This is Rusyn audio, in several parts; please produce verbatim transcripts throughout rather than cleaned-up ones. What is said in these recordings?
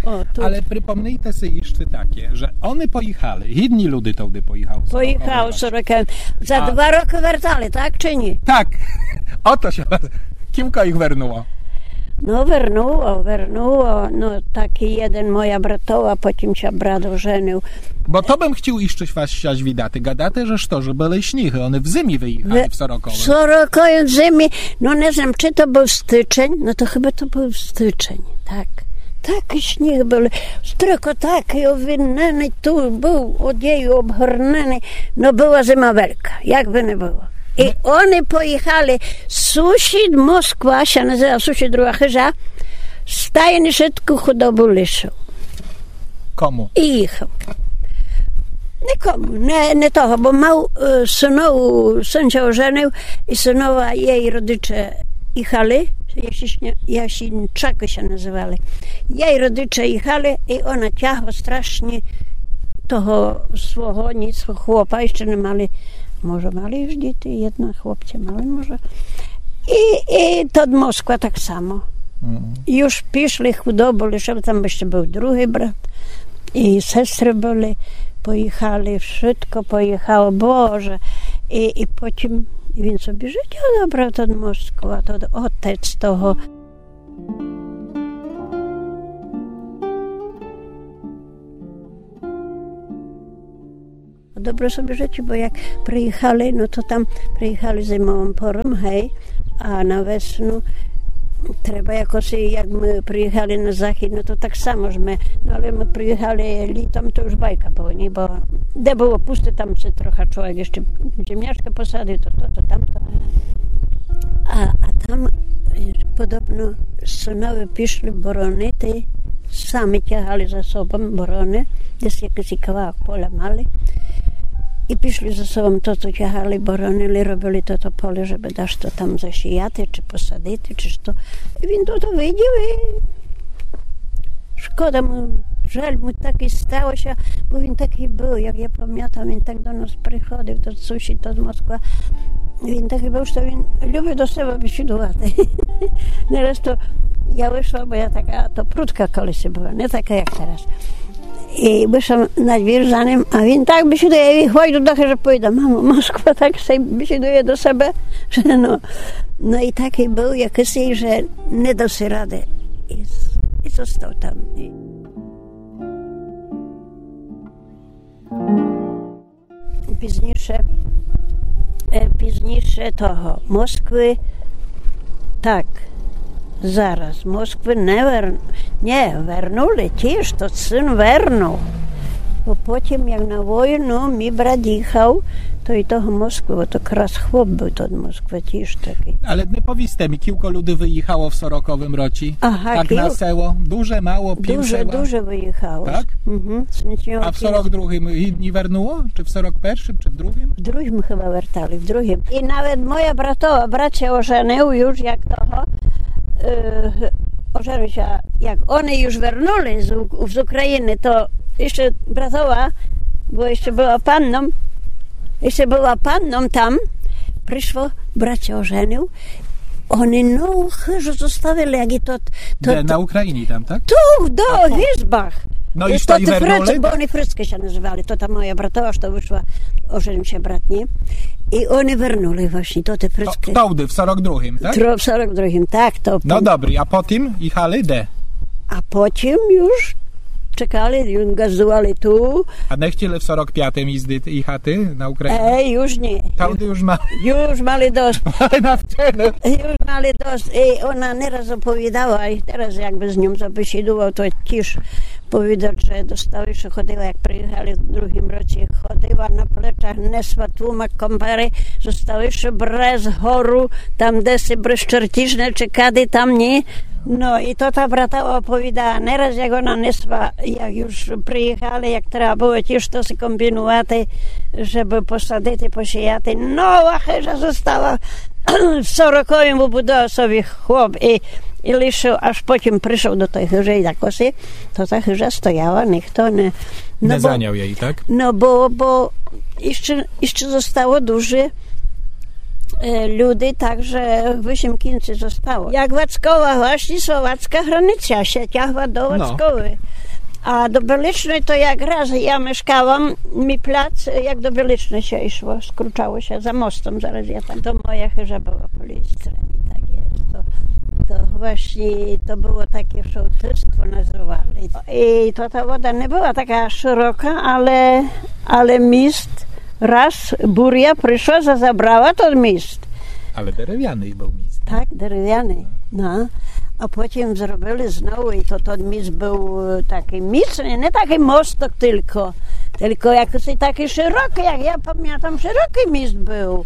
О, то... Але припомнийте си іщы таке, же они поіхали, гідні люде тогды поіхали. Поіхали сороковым. За два рокы вертали, так чи ні? Так. О то ся вас... Кілько їх вернуло? Но, вернуло, вернуло. Но, такій єден моя братова, потім ся брат оженив. Бо то бым хотів іщы вас ся звідати. Гадате, же што, же были сніґы, они в зимі выіхали в сороковым. В сороковым в зимі, но, не знам, чи то быв стычень, но, то хыба то быв стычень, так. Такій сніґ быв, строкотакій, овиненый, ту быв одею обгорненый, но, была зима велька, як бы не было. І они поіхали, сусід Москва ся называв, сусід, друга хыжа, стайні вшытку худобу лишыв. Кому? І їхав. Никому, не, не того, бо мав, е, сынову, сын ся оженив, і сынова, єй родиче їхали, Ясінчакы ся называли. Єй родиче їхали, і она тягла страшні того свого, ніц, хлопа, іщы не мали, може, мали юж діти, єдно хлопця мали, може. І, і тот Москва так само. Юж пішли, худобу лишыли, там іщы быв другій брат. І сестры были, поіхали, вшытко поіхало, Боже. І, і потім він собі жытя добрав, тот Москва, тот отець того. Добре собі жытя, бо як приіхали, но то там приіхали зимовым пором, гей, а на весну треба якоси, як мы приіхали на захід, но то так само ж мы, но але мы приіхали літом, то юж байка была, ні? Бо де было пусте, там ся троха чловек іщы земняшкы посадив, то то, то тамто. А, а там, е, подобно сынове пішли боронити, самы тягали за собом бороны, десь якысь кавалок поля мали. І пішли за собом, то, то тягали, боронили, робили то, то поле, жебы дашто там засіяти, чи посадити, чи што. І він то, то видів і шкода му, жаль му, так і стало ся, бо він такій быв, як я памятам, він так до нас приходив, тот сусід, тот Москва. Він такій быв, што він любив до себе бесідувати. Нараз то я вышла, бо я така то прудка колиси была, не така, як тераз. І вышла на двір за ним, а він так бесідує, я войду до хыжы, повідам: мамо, Москва так ся бесідує до себе, же но. Но і такій быв якысий, же не дав си рады. І з-, і зостав там. І пізніше, е, пізніше того, Москвы, так, зараз, Москвы не вер-, нє, вернули, тіж тот сын вернул. Бо потім, як на войну мій брат їхав, то і того Москвы, бо то якраз хлоп быв тот Москвы, тіж такій. Але не повісте мі, кілько люди выіхало в сороковым році? Ага, так на село? Дуже мало, пів села? Дуже, дуже выіхало. Так? Мгм. А в сорок другым гідні вернуло? Чи в сорок першым, чи в другым? В другым хыба вертали, в другым. І навет моя братова, брат ся оженив юж як того, е, оженив ся, як они юж вернули з У-, з Україны, то іщы братова, бо іщы была панном, іщы была панном там, пришло, брат ся оженив, они нову хыжу зоставили, як і тот, тот... Де, на Україні там, так? Ту, до Гизбах. Но і што, і вернули, так? Бо они Фрицкы ся называли, то та моя братова, што вышла, оженив ся брат, нє? І они вернули власні, то тоты Фрицкы. То, тогды, в сорок другым, так? Тро-, в сорок другым, так, то... Но добрі, а потім їхали де? А потім юж чекали, юж газдували ту. А не хотіли в сорок пятым їздити, їхати на Україну? Е, юж нє. Тогды юж ма-... Юж мали досыт. Мали навчене. Юж мали досыт. І она не раз оповідала, і тераз, як бы з ньом забесідував, то тіж повідал, же до Ставиша ходила, як приїхали в другім році, ходила на плечах, несла тлумак компары, зо Ставиша брез гору, там, де си брез Чертіжне, чи кады там, нє? Но, і то та брата оповідала, не раз, як она несла, як юж приїхали, як треба было тіж то си комбінувати, жебы посадити, посіяти. Но, а хыжа зостала в сороковым, выбудував собі хлоп і, і лишыл, аж потім пришол до той хыжы і так оси, то та хыжа стояла, нихто не, но, не бо заняв єй, так? Но, бо, бо іщы, іщы зостало дуже, е, люди, так же вісім кінців зостало. Як Вацкова, власні словацька границя, ся тягла до Вацковы. А до Беличной то якраз я мешкала, мій пляц, як до Беличной ся ішло, скручало ся за мостом, зараз я там. То моя хыжа была по лівій стороні, так є. То, то власні, то было таке, што шоłтыство называли. І то та вода не была така шырока, але, але міст раз буря пришла, за-, забрала тот міст. Але деревяный быв міст. Так, деревяный. Но. А потім зробили знову, і то тот міст быв, е, такый міцный, не такый мосток тілько, тілько якысь такый шырокый, як я памятам, шырокый міст быв.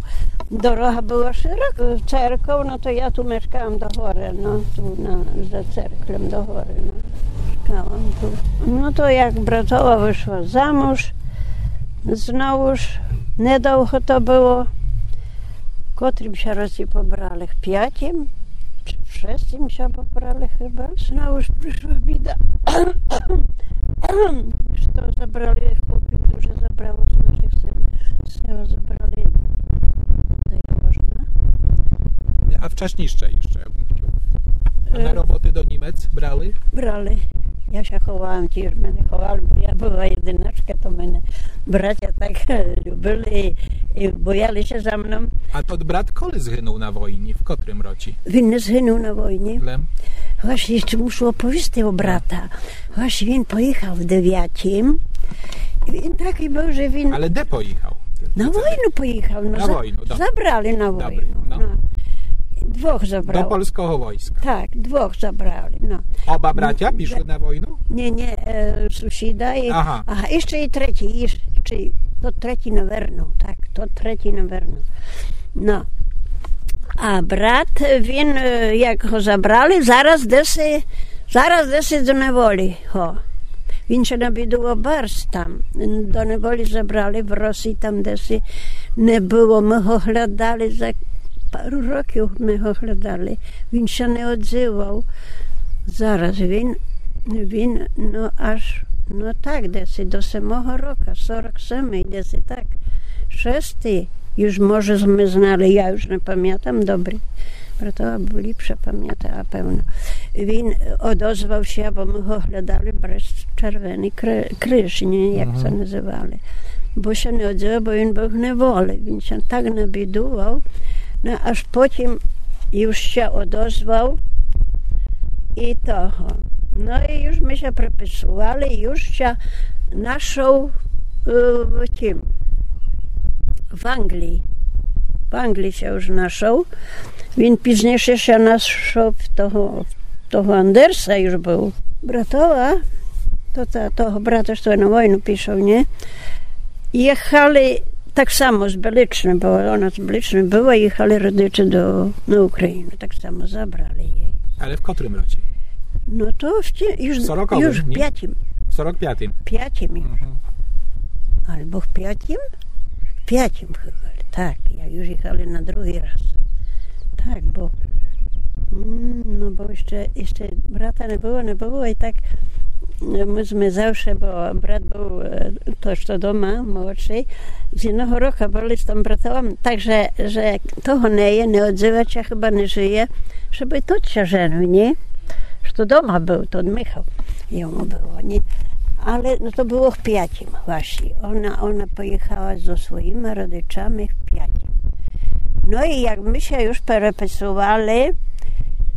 Дорога была шырока. Церков, но то я ту мешкала до горы, но, ту на, за церквом до горы, но. Мешкала ту. Но то як братова вышла замуж, знову ж недовго то было. В котрім ся році побрали? В пятім чи в шестім ся побрали хыба. Знову ж пришла біда. Што забрали, хлопів дуже забрало з нашых сел. З села забрали до Яворна. А вчасніше іщы, я бым хтіл. А на роботы до Німец брали? Брали. Я ся ховала, тіж мене ховали, бо я была єдиначка, то мене братя так любили і, і бояли ся за мном. А тот брат коли згынул на войні? В котрым році? Він не згынул на войні. Лем? Власні, іщы мушу оповісти о брата. Власні, він поіхал в девятім. Він такый быв, же він... Але де поіхал? На войну поіхал, но. На войну, добрі. Забрали на войну. Добрі, но. Но. Двох забрали. До польского войска. Так, двох забрали, но. Оба братя пішли на войну? Ні, ні, е, сусіда і, ага, іщы і третій, іщы, то третій, наверно, так, то третій, наверно. Но. А брат, він, е, як го забрали, зараз деси, зараз деси до неволі го. Він ся набідував барз там. До неволі забрали в Росії, там деси не было. Мы го глядали, за пару років мы го глядали. Він ся не одзывав. Зараз він, він, но, аж, но так, деси до семого рока, сорок семый, деси так. Шестый, юж може мы знали, я юж не памятам добрі. Братова ліпше памята, певно. Він одозвав ся, бо мы го глядали, Брест-Червеный кри-, криж, ні, як то называли. Бо ся не одзывав, бо він быв в неволі. Він ся так набідував, но, аж потім юж ся одозвав і того. Но і юж мы ся приписували, юж ся нашол, е, в тім, в Англії. В Англії ся юж нашол. Він пізнійше ся нашол в того, в того Андерса юж быв. Братова, то та, того брата, што на войну пішол, ні? Єхали так само з Беличной, бо она з Беличной была, єхали родичі до, на Україну, так само забрали єй. Але в котрым році? Но то в ті-, юж, в сороковым, юж в ні? Пятім. В сорок пятым. Пятім юж. Мгм. Або в пятім? В пятім єхали, так, як юж єхали на другій раз. Так, бо, м, но бо іщы, іщы брата не было, не было, і так, е, мы сме завше, бо брат быв, е, тот, што дома, молодшый, з єдного рока были з тым братом, так же, же того не є, не одзывать ся, хыба не жыє, жебы тот ся женив, ні? Што дома быв, тот Михал, йому было, ні? Але, но, то было в пятім. Власні, она, она поїхала зо своїма родичами в пятім. Но і як мы ся юж переписували,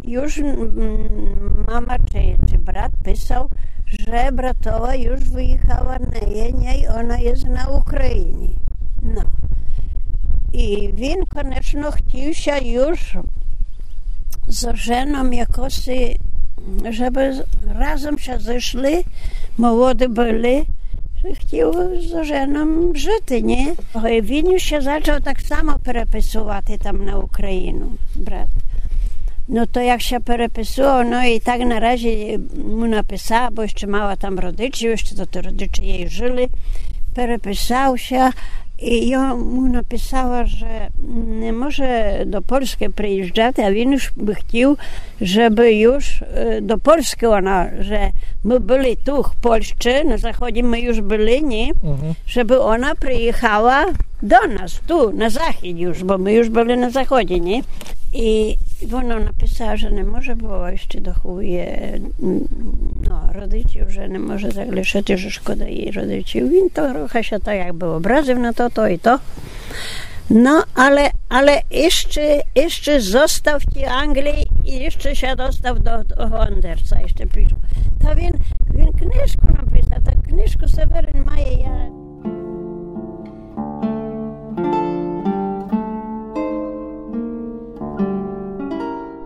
юж, м, мама чи, чи брат писав, же братова юж выїхала, не є нєй, она є на Україні. Но. І він, конечно, хтів ся юж зо женом якоси, жебы з-, разом ся зышли, молоды были, же хтів зо женом жыти, ні? Він юж ся зачав так само переписувати там на Україну, брат. Но то як ся переписував, но і так на разі му написала, бо іщы мала там родичів, іщы то, то родичі єй жыли. Переписав ся, І я му написала, же не може до Польскы приїжджати, а він уж бы хотів, жебы уж, е, до Польскы она, же мы были ту в Польщы, на заході мы уж были, ні? Мгм. Жебы она приїхала до нас, ту, на захід уж, бо мы уж были на заході, ні? І вона написала, же не може, бо іщы доховує, м, но, родичів, же не може залишыти, же шкода їй родичів. Він то трохы ся так якбы образив на то, то і то. Но, але, але іщы, іщы зостав в тій Англії і іщы ся достав до того Андерса, іщы пише. Та він, він книжку написав, та книжку Северин має, я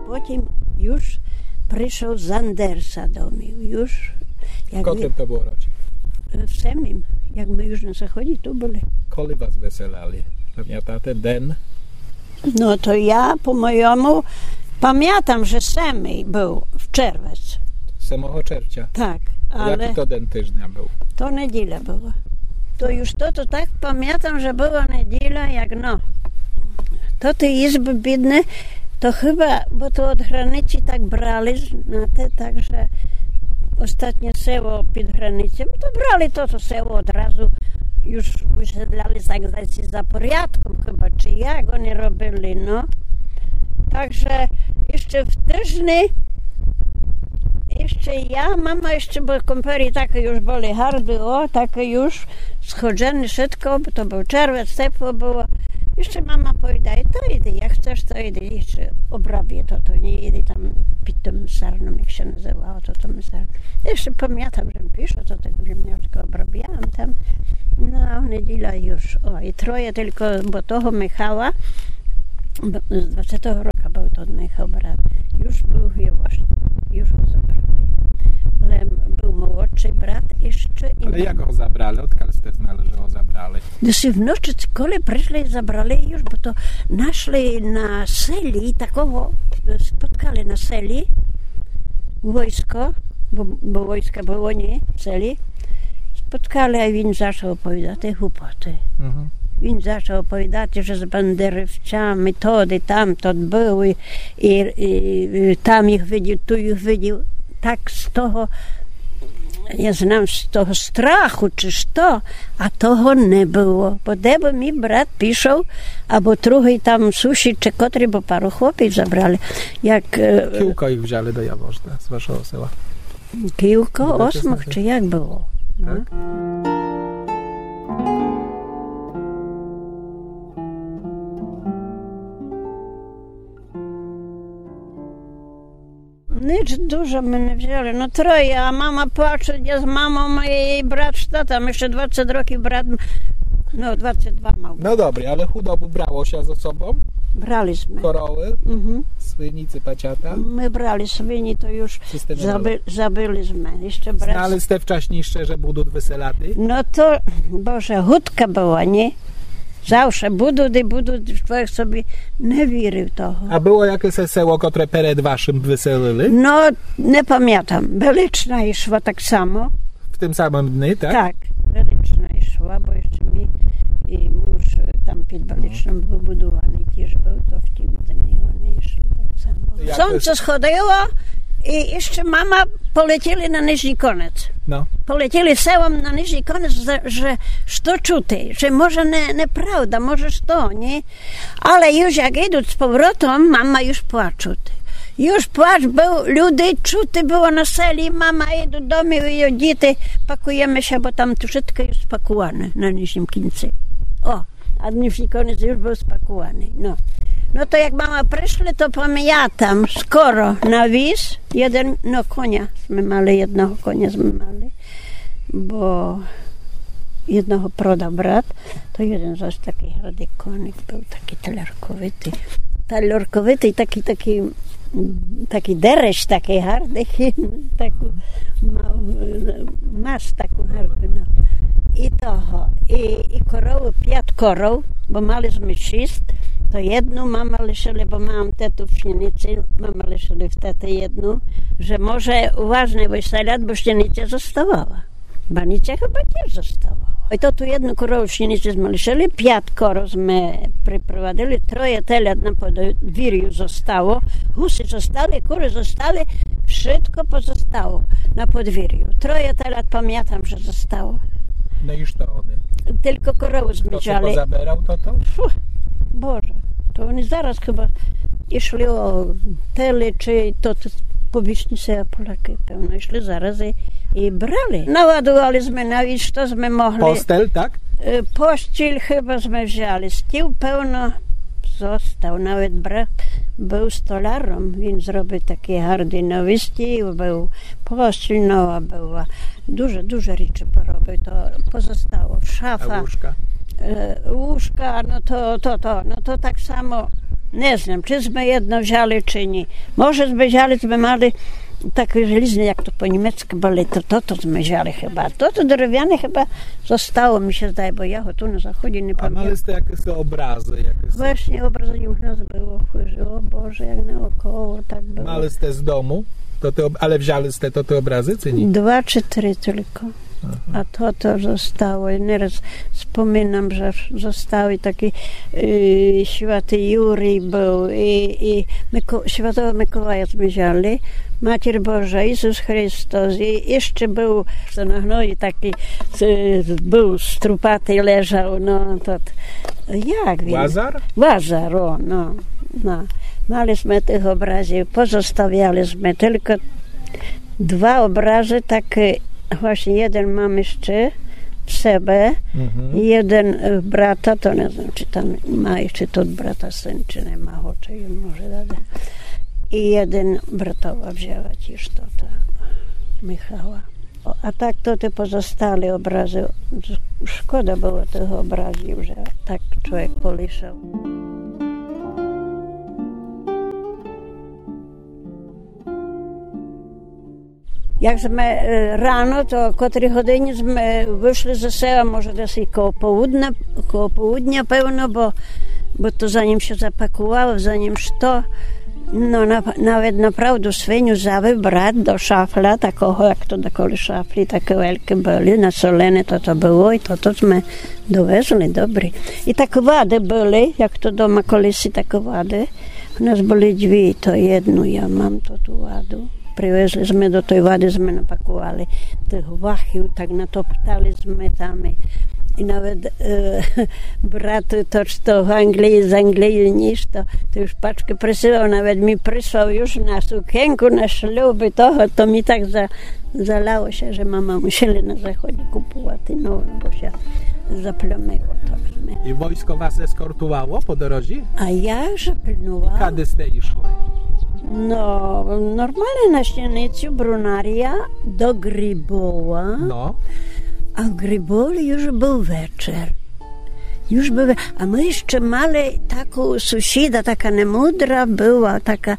Потім уж пришов з Андерса домів. Уж, як В котрым то было році? В семім, як мы уж на заході ту были. Коли вас выселяли? Памятате ден? Но то я, по мойому, памятам, же семий быв в червец. Семого червця? Так, А але якій то ден тыжня быв? То неділя была. То уж то, то так памятам, же была неділя, як но. То ті ізбы бідны, то хыба, бо то од границі так брали, знате, так же остатнє село під границями, то брали то, то село одразу, уж выселяли так за, за порядком хыба, чи як они робили, но. Так же іщы в тыжні, іщы я, мама іщы, бо кумпелі такы уж были гарды, о, такы уж сходжены вшытко, бо то быв червец, тепло было. Іщы мама повідає: то іди, як хцеш, то іди, іщы обрабє то, то, ні, іди там під тым сарном, як ся называло, то, то мы сар-, Іщы памятам, же пишу, то так землячкы обрабяла там. Но, а в неділя уж, о, і троє тілько, бо того Михала, б-, з двадцятого року быв тот Михал брат. Уж быв в Євошні, уж го забрали. Лем быв молодшый брат іщы і Але як го забрали? Одкаль сте знали, же го забрали? Десь вночі, коли пришли і забрали уж, бо то нашли на селі такого, е, споткали на селі войско, бо, бо войска было, ні, в селі. Споткали, а він зачав оповідати глупоты. Мгм. Він зачав оповідати, же з бандеровцями тоды, там тот быв, і, і, і там їх видів, ту їх видів. Так з того, я знам, з того страху, чи што, а того не было. Бо де бы мій брат пішов, або другый там сусід, чи котрый, бо пару хлопів забрали. Як, е, Кілько їх взяли до Явожна з вашого села? Кілько, Буде осмох, чесно, чи як было? Но. Так. Ніч дуже мене взяли. Но, троє, а мама плаче, я з мамом і брат з татом, іщы двадцять років брат м-, но, двадцять два мав. Но добрі, але худобу брало ся зо собом? Брали сме. Коровы, Мгм. Свині, цыпачата? Мы брали свині, то уж Ци сте не забы-, брали? забыли сме. Іщы брат Знали сте вчаснійше, же будут выселяти? Но то, Боже, гудка была, ні? Завше будут і будут, чоловік собі не вірив того. А было якесь село, котре перед вашым выселили? Но, не памятам. Велична ішла так само. В тым самым дни, так? Так, Велична ішла, бо іщы мій і муж, е, там під Величном выбудуваный тіж быв, то в тім дни они ішли так само. Як Сонце сходило і іщы мама полетіли на Нижній Конець. Но. Полетіли селом на Нижній Конець, же, же што чути, же може не, неправда, може што, ні? Але уж як ідут з поворотом, мама уж плачут. Уж плач быв, люди чути было на селі, мама ідут домів і діти, пакуєме ся, бо там вшытко уж спакуване на Нижнім Кінци. О, а Нижній Конець уж быв спакуваный. Но. Но то як мама пришли, то памятам, скоро на віз, єден, но, коня сме мали, єдного коня сме мали. Бо єдного продав брат, то єден зась такый гардый коник быв, такый талярковитый. Талярковитый, такый, такый, м, такый дереш, такый гардый, таку мав, е, мас таку гарду, но. І того, і, і коровы, пят коров, бо мали сме шіст, то єдну мама лишили, бо мам тету в Сніниці, мама лишили в тети єдну, же може уважне выселят, бо Сніниця зоставала. Баниця хыба тіж зостала. Ой, то ту єдну корову в Сіниці зме лишыли, пят коров зме припровадили, троє телят на подвірю зостало, гусі зостали, куры зостали, вшытко позостало на подвірю. Троє телят памятам, же зостало. Но і што они? Тілько корову зме взяли. Хто то позаберав тото? Фу, Боже, то они зараз хыба ішли о теле, чи то, то по вісні ся Полякы, певно, ішли зараз і, і брали. Наладували зме навіт, што зме могли. Постель, так? Е, постіль хыба зме взяли. Стіл, певно, зостав. Навет брат быв столяром. Він зробив такый гарды новый стіл, быв постіль нова была. Дуже, дуже рідче поробив, то позостало. Шафа. А лужка? Е, лужка, но то, то, то, но то так само, не знам, чи зме єдно взяли, чи ні. Може, зме взяли, зме мали такы желізны, як то по німецкы были, то, то, то зме взяли хыба. То, то деревяне хыба зостало, мі ся здає, бо я го ту на заході не памятам. А мали сте якісь образы, якісь? Власні, образы у нас было, о Боже, як наоколо так было. Мали сте з дому? То ты об-, але взяли сте то, ты образы, ци ні? Два чи три тілько. Ага. А то, то зостало. І нераз споминам, же зостали такі, е, святый Юрій быв, і, і Мико-, святого Миколая зме взяли, Матір Божа, Ісус Христос, і іщы быв, што на гної такый, е, быв струпатый, лежав, но, тот, як він? Лазар? Лазар, о, но, но. Мали зме тых образів, позоставяли зме тілько два образы такы, власні, єден мам іщы в себе, і єден, е, брата, то не знам, чи там ма іщы тот брата сын, чи нема го, чи він може дати. І єден братова взяла тіж тото, Михала. О, а так то ты позостали образы. Шкода было тых образів, же так чловек полишав. Як зме, е, рано, то о котрій годині зме вышли зо села, може, десь і коло полудня, коло полудня, певно, бо, бо то занім ся запакувало, занім што. Но, на-, навет направду свиню взяв брат до шафля, такого, як то даколи шафлі, такы великы были, насолене то, то было, і то, то зме довезли, добрі. І так вады были, як то дома колиси, так вады. У нас были дві, то єдну я мам, то ту ваду. Привезли зме до той вады, зме напакували тых вахів, так натоптали зме там. І, і навет, е, брат, то, што в Англії, з Англії нішто, то уж пачкы присылав, навет мі прислав уж на сукенку, на шлюб і того, то мі так за-, заляло ся, же мама мусіли на заході купувати, но, бо ся заплямило то зме. І войско вас ескортувало по дорозі? А як же пильнувало? І кады сте ішли? Но, нормалне на Сіницю, Брунарія, до Грибова. Но. А в Грибові уж быв вечер. Уж быв ве-, а мы іщы мали таку сусіда, така немудра была, така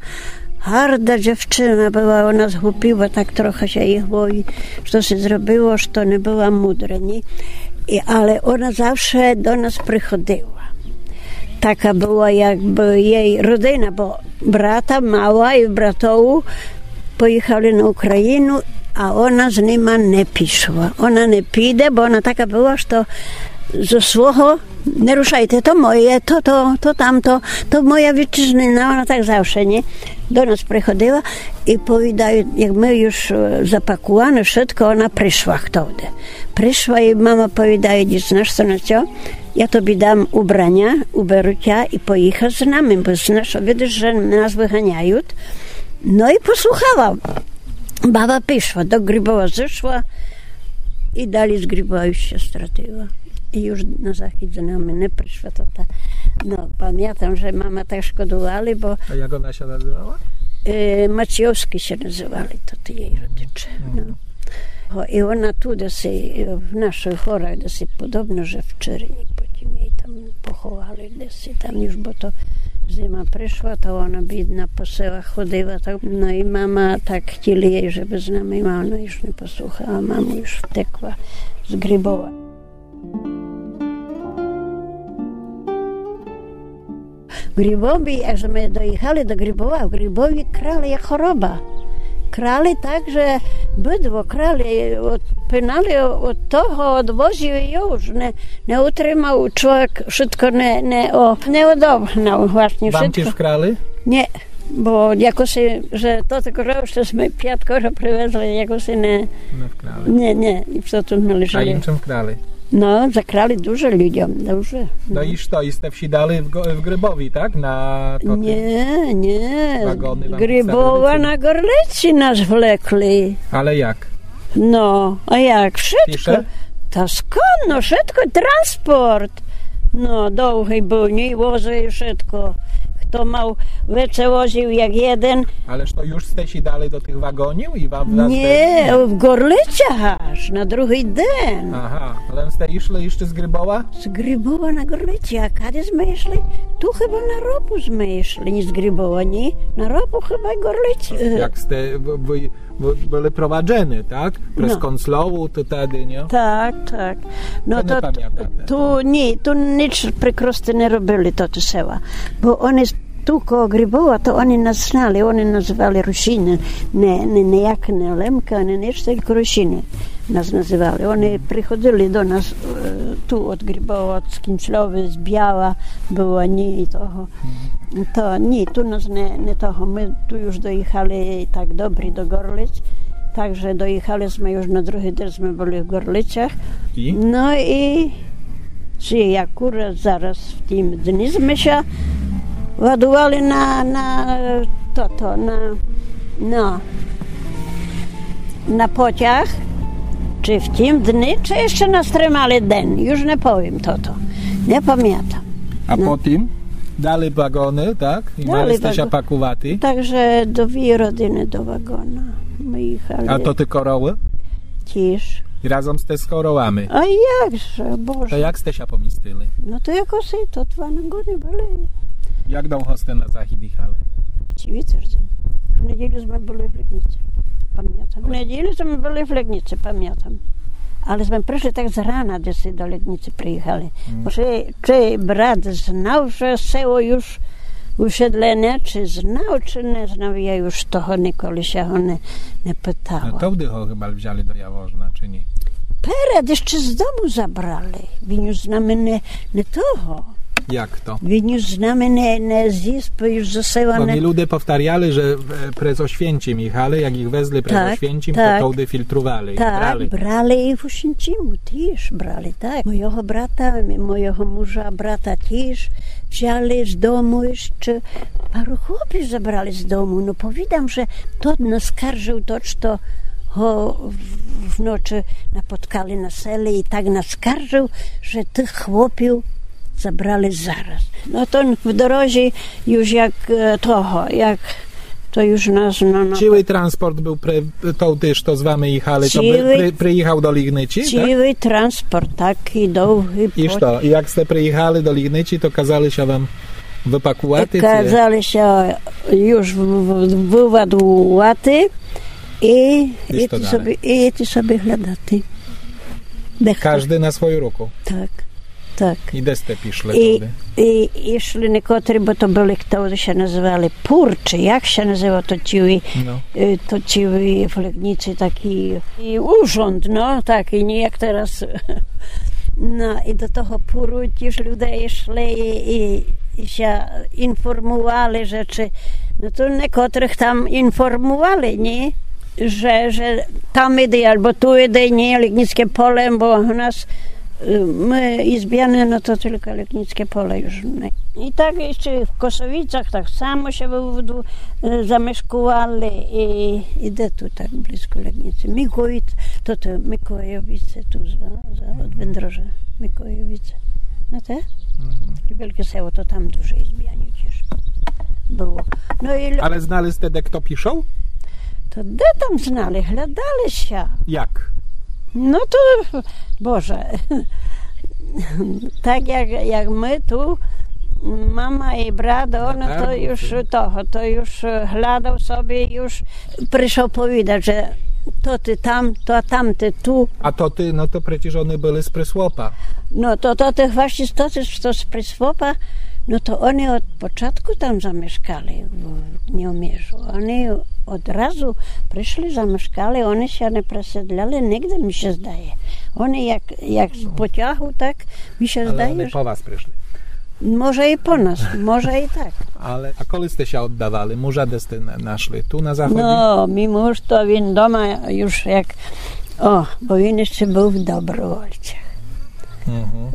гарда дзівчына была, она згупіла так трохы ся їй в голові, што ся зробило, што не была мудра, ні? І, але она завше до нас приходила. Така была якбы єй родина, бо брата мала і братову поїхали на Україну, а она з нима не пішла. Она не піде, бо она така была, што зо свого: не рушайте, то моє, то, то, то тамто, то моя вітчизнина, она так завше, ні? До нас приходила і повідаю, як мы уж, е, запакуваны, вшытко, она пришла, хто де. Пришла і мама повідає: «Діть, знаш што, на цо? Я тобі дам убраня, уберу тя і поїхай з нами, бо знаш, видиш, же нас выганяють». Но і послухала. Баба пішла, до Грибова зышла і далі з Грибова уж ся стратила. І уж на захід з нами не пришла, то та. Но, памятам, же мама так шкодували, бо... А як она ся называла? Е, Маційовскы ся называли, то ті єй родиче. Но. Го, і она ту деси, е, в нашых горах деси, подобно, же в Черні, потім єй там поховали деси, там уж, бо то зима пришла, то она бідна по селах ходила, так, но і мама так хотіли єй, жебы з нами, а она уж не послухала, мама уж втекла з Грибова. В Грибові, як зме доїхали до Грибова, в Грибові крали як хороба. Крали так, же быдло крали, од, пинали од того, од возів і уж не, не утримав чловек, вшытко не, не, о, не одогнав власні. Вам вшытко тіж вкрали? Ні, бо якоси, же то так, же што сме пят куры привезли, якоси не... Не вкрали. Ні, ні, і што ту належало. А іншым вкрали? Но, закрали дуже людям, дуже. Но і што, і сте всідали в Го-, в Грибові, так? На то... Ні, ні. Вагоны вам підставили, ци ні? Грибова на Горлиці нас влекли. Але як? Но, а як? Вшытко. Піше? Та сконно, вшытко транспорт. Но, довгый быв, ні, возы і вшытко. Хто мав веце возів як єден. Але што, юж сте сідали до тых вагонів і вам... Ні, в Горлицях аж на другый ден. Ага, але сте ішли іщы з Грибова? З Грибова на Горлиці, а кады сме ішли? Ту хыба на Ропу сме ішли, ні з Грибова, ні. На Ропу хыба й Горлиці. Як сте, вы, вы, вы были проваджены, так? През Концльову, то тады, ні? Так, так. Но то не памятате, ту, ні, ту ніч прикрости не робили, то, то села. Бо они ту коло Грибова, то они нас знали, они называли Русины. Не, не, ніяк не Лемкы, ні ніч, тілько Русины нас называли. Они приходили до нас, е, ту од Грибова, од Скінцльовы, з Біяла было, ні, і того. То ні, ту нас не, не того. Мы ту юж доіхали так добрі до Горлиць, так же доіхали сме юж на другый ден, сме были в Горлицях. І? Но і ци акурат зараз в тім дни сме ся ладували на, на тото, на, на, на потяг, ци в тім дни, ци іщы нас тримали ден, юж не повім тото, не памятам. А потім? Дали вагоны, так? І мали сте ся пакувати? Так же дві родины до вагона мы іхали. А то ты коровы? Тіж. І разом сте з коровами? А як же, Боже. То як сте ся помістили? Но то якоси, то два вагоны были. Як довго сте на захід іхали? Цілий тыжден. В неділю сме были в Ледниці, памятам. В неділю сме были в Ледниці, памятам. Але сме пришли так з рана, десь до Ледниці приіхали. Бо ци, ци брат знав, же село юж усідлене, ци знав, ци не знав, я юж того николи ся го не, не питала. Но то вды го хыба взяли до Явожна, ци ні? Перед іщы з дому забрали. Він юж з нами не, не того. Як то? Він юж з нами не, не зіспав, юж за села не... Бо мі люде повтаряли, же, е, през Ошвєнцім іхали, як іх везли през Ошвєнцім, то товды фільтрували, брали. Так, брали і в Ошвєнціму тіж брали, так. Мойого брата, мойого мужа, брата тіж взяли з дому іщы. Пару хлопів забрали з дому, но повідам, же тот нас скаржыв, тот, што го в, в ночы напоткали на селі, і так нас скаржыв, же тых хлопів забрали зараз. Но то в дорозі юж як, е, того, як то юж нас, но, но. Цілый транспорт быв при, товды, што з вами іхали, то бы, при, приіхав до Ледниці, так? Цілый транспорт, такій довгій. І што, і як сте приіхали до Ледниці, то казали ся вам выпакувати, ци? Казали ся юж в, в, выладувати і, і іти собі, і іти собі глядати. Каждый на свою руку? Так. Так. І де сте пішли товды? І, і, ішли некотрі, бо то были, хто ся называли пур, ци як ся называв, то цілый, е, то цілый в Ледниці такій, і урząd, но, такій, ні як тераз. Но, і до того пуру тіж люде ішли і, і, і ся інформували, же ци, но то некотрых там інформували, ні? Же, же там іди, або ту іди, ні, Ледницьке поле, бо у нас, е, мы Ізбяне, но то тілько Ледницьке поле юж не. І так іщы в Косовіцях так само ся выводу, е, замешкували і, і де ту так близько Ледниці. Микоїд, то, то Микоєвіце ту за, за, од Вендрожа. Микоєвіце. Знаєте? Таке велике село, то там дуже Ізбянів тіж было. Но і лю- Але знали сте, де хто пішов? То де там знали? Глядали ся. Як? Но то, Боже, так як, як мы ту, мама і брат, оно то юж того, то юж глядав собі, юж пришов повідац, же то ты там, то там ты ту. А то ты, но то прецеж они были з Прислопа. Но то, то ты власні, то ты, што з Прислопа, но то они од початку там замешкали в, в Нєоміжу. Они Одразу пришли, замешкали, они ся не преселяли нигде, мі ся здає. Они як, як з потягу, так, мі ся здає, они по вас пришли. Може і по нас, може і так. Але, а коли сте ся оддавали? Мужа де сте на-, нашли? Ту на заході? Но, мій муж, то він дома юж як, о, бо він іщы быв в добровольцях.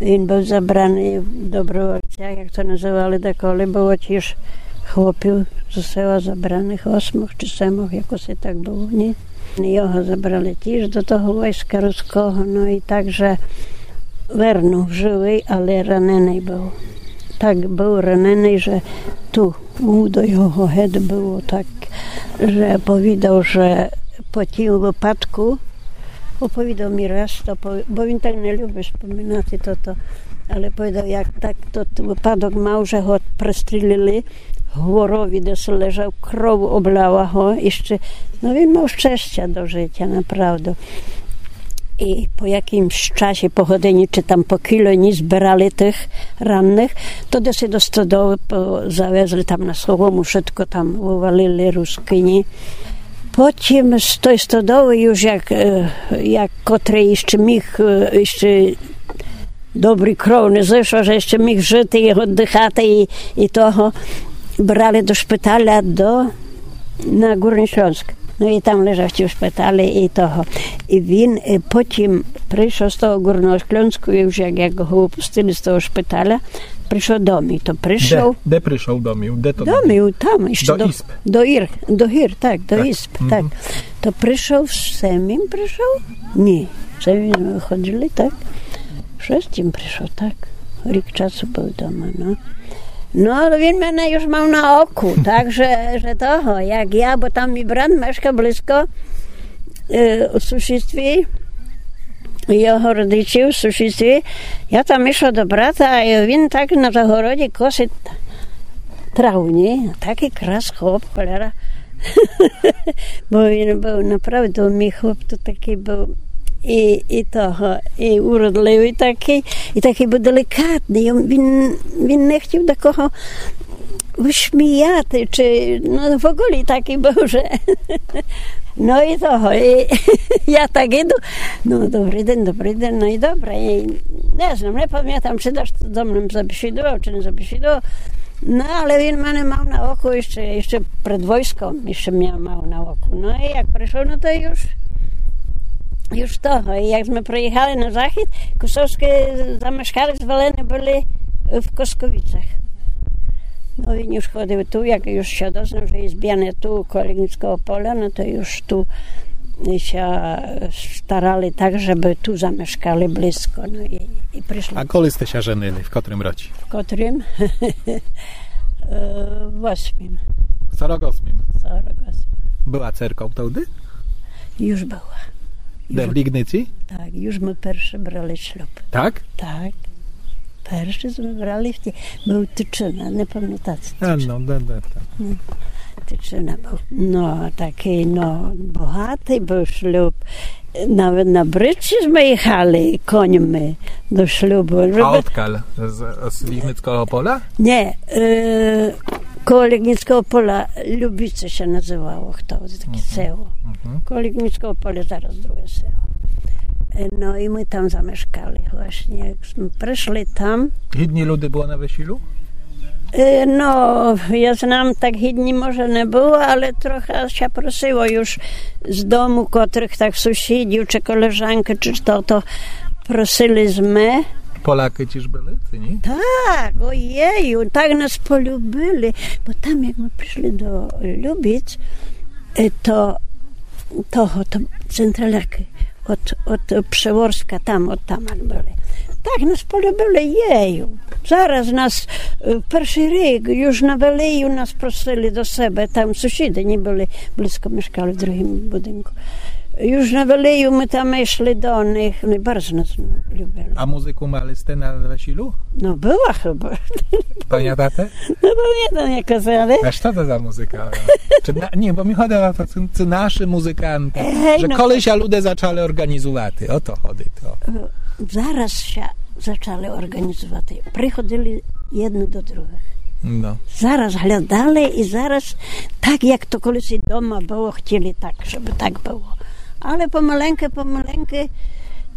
Він быв забраный в добровольцях, як то называли деколи, было тіж хлопів з села забраных, осьмох чи семох, якоси так было, ні? Його забрали тіж до того войска руського, но і так же вернув, живый, але раненый быв. Так быв раненый, же ту удо його гет было так, же повідав, же по тім выпадку, оповідав мі раз то, бо він так не любить споминати тото, але повідав, як так тот выпадок мав, же го пристрілили, в Гворови, де лежав, кров обляла го, іщы, но, він мав щестя до житя, направду. І по якымсь часі, по годині, чи там по кілько дні зберали тых ранных, то десь до стодолы по-, завезли там на солому, вшытко там вывалили рускыні. Потім з той стодолы юж як, е, як котрый іщы міг, е, іщы добрый кров не зышов, же іщы міг жыти і оддыхати і, і того, брали до шпиталя до, на Гурный Шльонск. Но і там лежав у шпиталю і того. І він, е, потім пришов з того Гурного Шльонску, юж як, як го выпустили з того шпиталя, пришов домів. То пришов. Де, де пришов домів? Де то домів? Там, іщы до, до Ір, до Гір, так, до Ізб, так. То пришов, з Семім пришов? Ні, з Семім мы выходили, так. Шестім пришов, так. Рік часу быв дома, но. Но, але він мене юж мав на оку, так же, же того, як я, бо там мій брат мешка близько, е, у сусідстві, його родичі в сусідстві. Я там ішла до брата, а він так на загороді косить траву, ні? Такый крас хлоп, холера. Бо він быв направду, мій хлоп то такый быв і, і того, і уродливый такый, і такый быв делікатный. Він, він не хотів такого высміяти, чи, но, в оголі такый быв, же. Но і того, і я так іду, но, добрый день, добрый день, но і добре. І не знам, не памятам, чи дашто зо мнов забесідував, чи не забесідував. Но, але він мене мав на оку іщы, іщы пред войском, іщы мене мав на оку. Но і як пришов, но то юж, юж того. І як зме приіхали на захід, Косовскы замешкали, звелены были в Косковицях. Но, він юж ходив ту, як юж ся дознав, же є збяне ту, коло Лігніцкого поля, но то юж ту ся старали так, жебы ту замешкали близко, но і, і пришли. А коли сте ся женили? В котрым році? В котрым? Е, восьмім. Сорок осмім. Сорок осмім. Была церков тогды? Юж была. Де, в Лігниці? Так, юж мы перше брали шлюб. Так? Так. Перше зме брали в ті-, быв Тычына, не памятате, Тычына. А, но, да, да, так. Но, Тычына быв. Но, такый, но, богатый быв шлюб. Навет на бричці зме іхали коньми до шлюбу. А одкаль? З, з Лігніцкого поля? Ні, е, коло Лігніцкого поля Любіце ся называло, хто, таке село. Коло Лігніцкого поля зараз друге село. Е, но і мы там замешкали власні, як зме пришли там. Гідні люде было на весілю? Е, но, я знам, так гідні може не было, але трохы ся просило юж з дому, котрых так сусідів, чи колежанкы, чи што, то просили зме. Полякы тіж были, ци ні? Так, оєю, так нас полюбили, бо там, як мы пришли до Любіц, е, то того, то централякы од, од Прыворска, там, од там были. Так нас полюбили, єю. Зараз нас, е, першый рік юж на велію нас просили до себе, там сусіды не были близко, мешкали в другым будинку. Юж на велію мы там ішли до них, они барз нас любили. А музыку мали сте на весілю? Но, была хыба. Памятате? Но, памятам, як казали. А што то за музыка? Чи на-, ні, бо мі ходило о то, ци, ци нашы музыканты, же коли ся люде зачали орґанізувати, о то ходит, о. Е, зараз ся зачали орґанізувати. Приходили єдны до другых. Да. Зараз глядали і зараз так, як то колись і дома было, хотіли так, щоб так было. Але помаленьку, помаленьку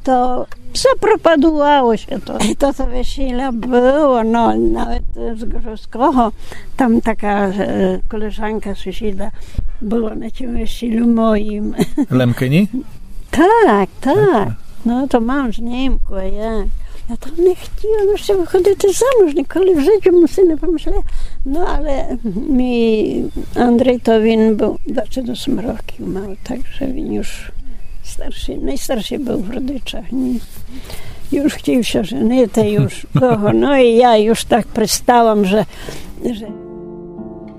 то запропадувало ся то. І то, то весіля было, но, навет з Ґрозкого, там така е, колежанка, сусіда была на тім весілю моїм. Лемкині? Так, так. Но, то мам з Німков, я. Я там не хотіла ще выходити замуж, ніколи в житті му си не помышляла. Но, але мій Андрій, то він быв двадцять осем років мав, так же він уж старшый, найстаршый быв в родичах, ні. Уж хотів ся женити, уж того. Но і я уж так пристала, же, же